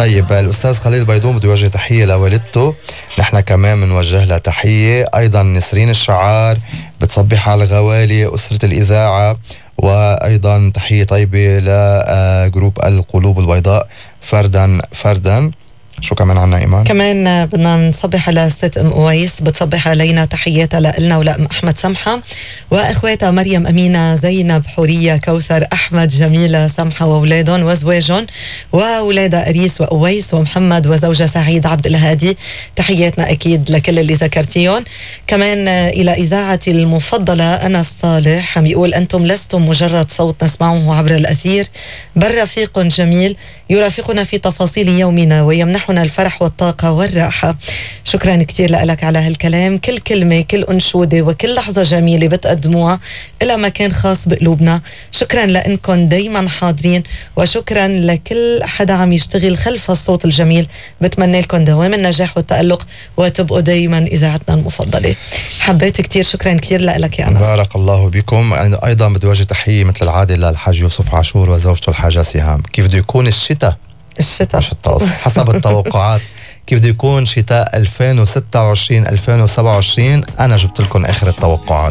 طيب الأستاذ خليل البيضون بده يوجه تحية لوالدته، نحن كمان بنوجه لها تحية. أيضا نسرين الشعار بتصبح على الغوالي أسرة الإذاعة، وأيضا تحية طيبة لجروب القلوب البيضاء فردا. شو كمان عنا إيمان؟ كمان بدنا نصبح على ست أم أويس، بتصبح علينا تحياتها لنا ولأم أحمد سمحة، وإخواتها مريم أمينة زينب حورية كوثر أحمد جميلة سمحة وأولادهم وزواجهم، وأولادها أريس وأويس ومحمد وزوجة سعيد عبد الهادي. تحياتنا أكيد لكل اللي ذكرتيهم. كمان إلى إذاعتي المفضلة أنس صالح عم يقول أنتم لستم مجرد صوت نسمعه عبر الأثير، بل رفيق جميل يرافقنا في تفاصيل يومنا ويمنحنا الفرح والطاقة والراحة. شكرا كتير لك على هالكلام. كل كلمة كل أنشودة وكل لحظة جميلة بتقدموها إلى مكان خاص بقلوبنا. شكرا لأنكم دايما حاضرين، وشكرا لكل حدا عم يشتغل خلف الصوت الجميل. بتمنى لكم دوام النجاح والتألق وتبقوا دايما إذاعتنا المفضلة. حبيت كتير، شكرا كتير لك يا أنس. بارك الله بكم. أيضا بدي وجه تحية مثل العادة للحاج يوسف عاشور وزوجته الحاجة سهام. كيف بده يكون الشتاء مش الطقس حسب التوقعات، كيف بده يكون شتاء 2026 2027؟ أنا جبت لكم آخر التوقعات.